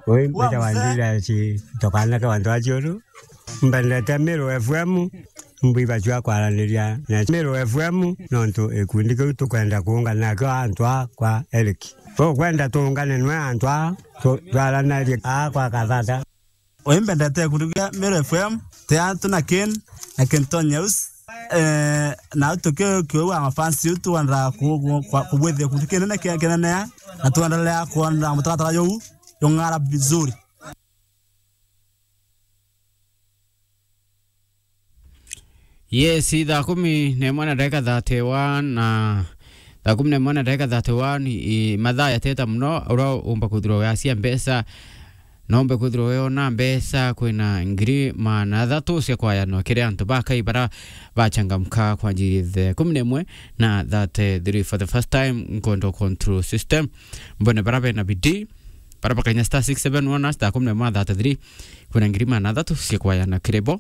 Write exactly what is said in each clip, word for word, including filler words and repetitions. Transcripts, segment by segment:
Ui mbeta wa ndira ci tokana ke wantu aciuru. Mbendete Miru F M, mbwiba cua kwaraniria na Miru F M, nontu ikundi kiu tukwenda kuungana nakio antu a kwa Eric. Tukwenda tuungane nwe antu a tu-, twaranarie a kwa Kathata. Ui mbendete ikundi kia Miru F M, te antu na Ken, na Kenton News. Eh, na tukio kiu wa mafansi yu tuenda ku-, ku-, kwa-, kubwithia ikundi kinene kia kinene, na tuendelea kuenda mutaratara juu jung'ara vizuri. Yes, thaa kumi na imwe na ndagika thirty-one, na thaa kumi na imwe na ndagika thirty-one, i, mathaa yateta muno, uria umba kwithirwa wiacia mbeca, no umbe kwithirwa wiona mbeca, kwina ngiri maana athatu cia kwayanwa kiri antu bakai bara bachangamka kwanjiria thaa kumi na imwe na thirty-three. For the first time, nkwenda control system. Mbone bara bena bidii, bara bakainya star six seven one hash, thaa kumi na imwe na thirty-three, kwina ngiri maana athatu cia kwayana kiri bo.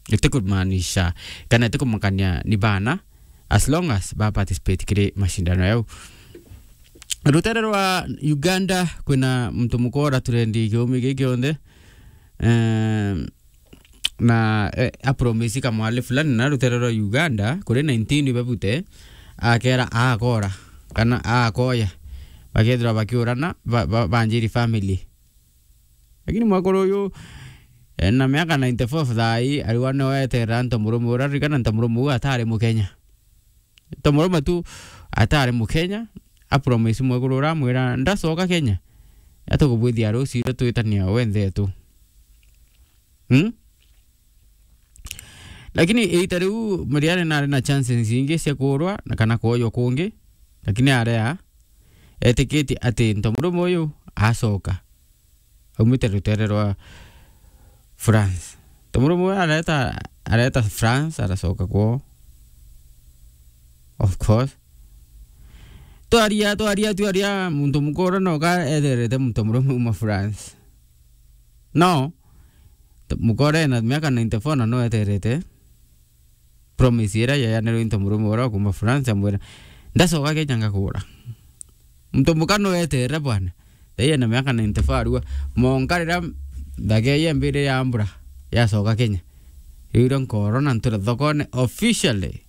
Itikumaanisha kana itikumakania ni bana, as long as ba participate kiri mashindano yau. Rutere rwa Uganda, kwina muntu mukora trendi kiumi giki kionthe. Ehm, na, eh, apromisi kamwali fulani na rutere rwa Uganda, kuri nineteen bebute, akera akora, kana akoya, bakethirwa bakiurana, ba-, ba-, banjiri family. Lakini mwekuru uyu, eh, na miaka ninety-four thaa ii, ariwa nio eterera ntomurume uria, ririkana ntomurume uyu atari Mukenya. Ntomurume tu atari Mukenya, apromisi mwekuru uria amwira, "Ndacoka Kenya, atukubwithia rucio iria twitania we nthetu." Hmm? Lakini iita riu Mariane nari na chances ingi cia kuurwa na kana kwoywa kungi, lakini area etikitie ati ntomurume uyu acoka. Aumite rutere rwa France. Ntomurume uyu areta, areta France, aracoka kwoo. Of course. Twaria, twaria, twaria, muntu mukuru noka eterete muntu murume uma France. No, t-, mukuru ena miaka ninety-four na no eterete promise iria yayanirwe into murume uria kuma France, amwira, "Ndacoka Kenya ngakura." Muntu muka no eterere bwana. Thaiya na miaka ninety-four arua. Monka riria ndagea yembire ya mbura, yacoka Kenya. Riu irio nkoro na ntura thokone officially.